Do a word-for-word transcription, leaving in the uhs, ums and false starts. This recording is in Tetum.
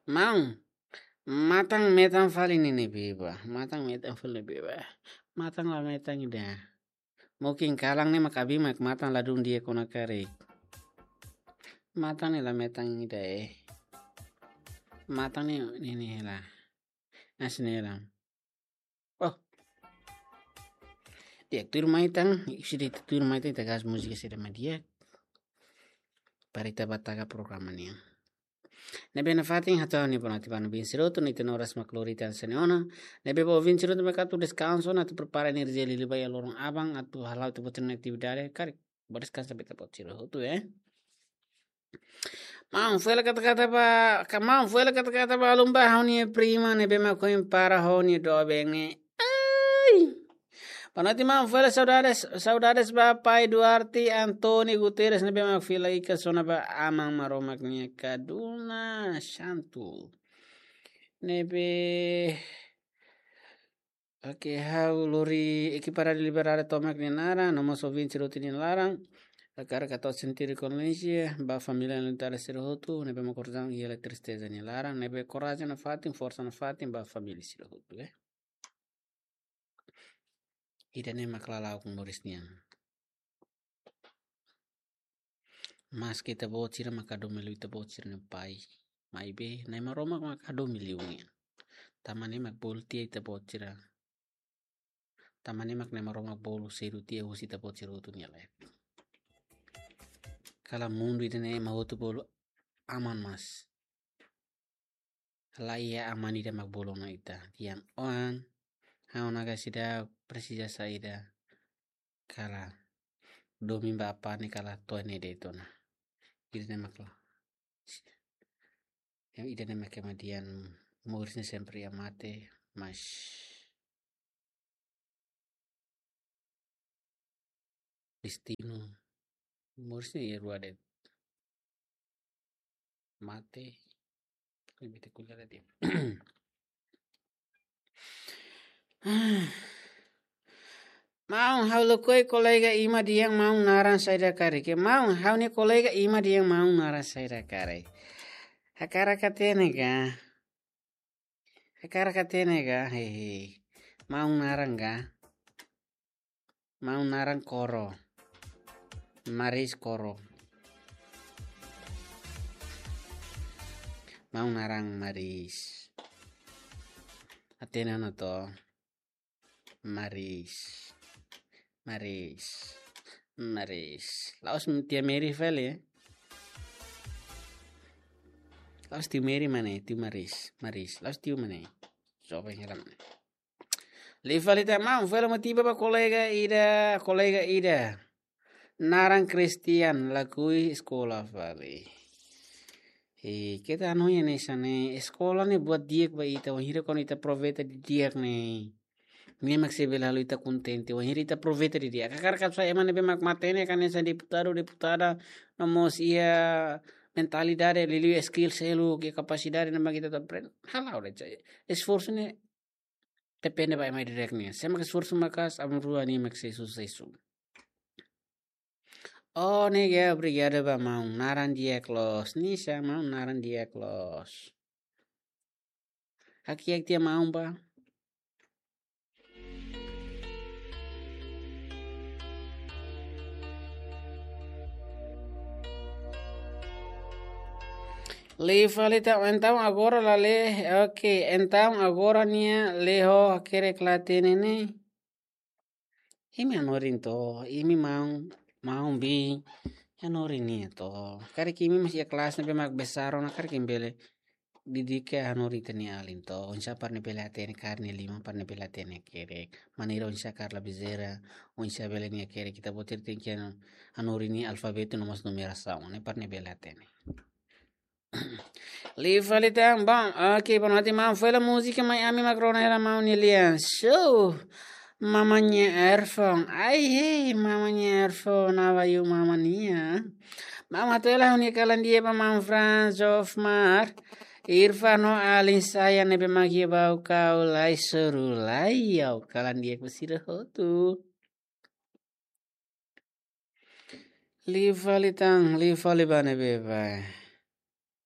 Maun, matan metan fali ne'e ne'ebé ba. Matan metan fali ne'ebé ba. Matan la metan ida. Mungkin kalan ne'e mak abin mak matan ladún di'ak ona karik. Matan ne'e la metan ida, eh. Matan ne'e, ne'e, ne'e hela. Hanesan ne'e hela. Oh. Di'ak, tuirmai tan, ita sei tuirmai tan, ita gas múzika saida mak di'ak. Para ita bá taka programa nian. Ne'ebé nafatin hato'o ha'u-nia boa noite ba ouvinte sira hotu, ne'e ita-nia oras mak lori tan hanesan ne'e ona. Ne'ebé ba ouvinte sira hotu mak atu deskansa ona, atu prepara enerjia liuliu ba iha loron aban, atu hala'o ita-boot nia atividade, karik bá deskansa ba ita-boot sira hotu, eh. Maun, fó hela kata-kata ba, ka maun, fó hela kata-kata ba alun ba ha'u-nia prima ne'ebé mak ohin para ho nia doben ne'e. Ai. Boa noite, maun, fó hela saudades, saudades ba pai Duarte António Guterres ne'ebé mak fila ikan sona ba Aman Maromak nia kaduna santu. Ne'ebé, oke, ha'u lori ekipa Rádiu Liberdade tomak nia naran, no mós ouvinte sira hotu nia laran. Hakarak hato'o sentidu kondolenzia ba família Alintara sira hotu, ne'ebé mak korzaun iha tristeza nia laran, ne'ebé korajen nafatin, forsa nafatin ba família sira hotu, eh. Ida-ne'e mak lala'ok moris nian. Maski ita-boot sira mak hadomi liu ita-boot sira-nia pai, maibé Na'i Maromak mak hadomi liu nia. Tanba ne'e mak bolu tiha ita-boot sira. Tanba ne'e mak Na'i Maromak bolu sedu tiha husi ita-boot sira hotu nia laek. Kalan mundu ida-ne'e ema hotu bolu aman, mas la iha aman ida mak bolu ona ita. Tian oan, ha'u-nia kasida presiza saida. Kalan domin ba apá ne'e kalan to'o ne'e de'it ona. Ida-ne'e mak la. Yang ida-ne'e mak ema dehan moris ne'e sempre iha mate, mas destinu. Moris ne'e iha rua de'it. Mate. Ne'ebé ita ko'alia de'it. Maun, ha'u lakohi kolega Ima dehan maun naran saida karik. Maun, ha'u-nia kolega Ima dehan maun naran saida karik. Hakarak hatene ka? Hakarak hatene ka? Hehe. Maun naran ka? Maun naran Koro. Maris Koro. Maun naran Maris. Hatene ona to. Maris. Maris. Maris. La'ós tia Mary fali, eh? La'ós tia Mary mak ne'e, tia Maris. Maris. La'ós tia mak ne'e. Joven hela mak ne'e. Liu fali tan maun, fó hela motiva ba kolega ida, kolega ida. Naran Christian, lakohi eskola fali. E, keta anu ya ne sane, eskola ne'e buat di'ak ba ita, wainhira kuandu ita aproveita didi'ak ne'e. Ne'e mak sei bele halo ita kontente, wainhira ita aproveita didi'ak. Hakarak atu sai ema ne'ebé mak matenek hanesan deputadu, deputada, no mós iha mentalidade, liuliu skill seluk, iha kapasidade ne'ebé mak ita atu aprende. Hala'o de'it. Esforsu ne'e depende ba ema ida-idak nian. Sé mak esforsu maka'as, aban-rua nia mak sei susesu. Oh, ne'e ka, obrigadu ba maun. Naran di'ak loos. Nisa, maun naran di'ak loos. Hakiak tiha maun ba. Liu fali tan, entaun agora la lee, oke, entaun agora nia lee ho hakerek la hatene ne'e. Imi hanorin to, imi maun, maun bi, hanorin nia to. Karik imi mós iha kelas ne'ebé mak besar ona, karik imi bele didi'ak hanorin ita-nia alin to. Oinsá para nia bele hatene kaer nia liman, para nia bele hatene hakerek. Maneira oinsá kaer labizeira, oinsá bele nia hakerek. Ita-boot sira tenke hanorin nia alfabetu no mós numerasaun, ne'e para nia bele hatene. Liu fali tan, bom, oke, boa noite maun, fó hela múzika mai ami mak rona hela maun nia lian. So, Mama nia Earphone, ai hei, Mama nia Earphone, abayu Mama nia. Maun, hato'o hela ha'u-nia kalan di'ak ba maun Franz Hofmar, Irfan no alin sira ne'ebé mak iha Baucau, lai soru lai, ha'u kalan di'ak ba sira hotu. Liu fali tan, liu fali ba ne'ebé ba.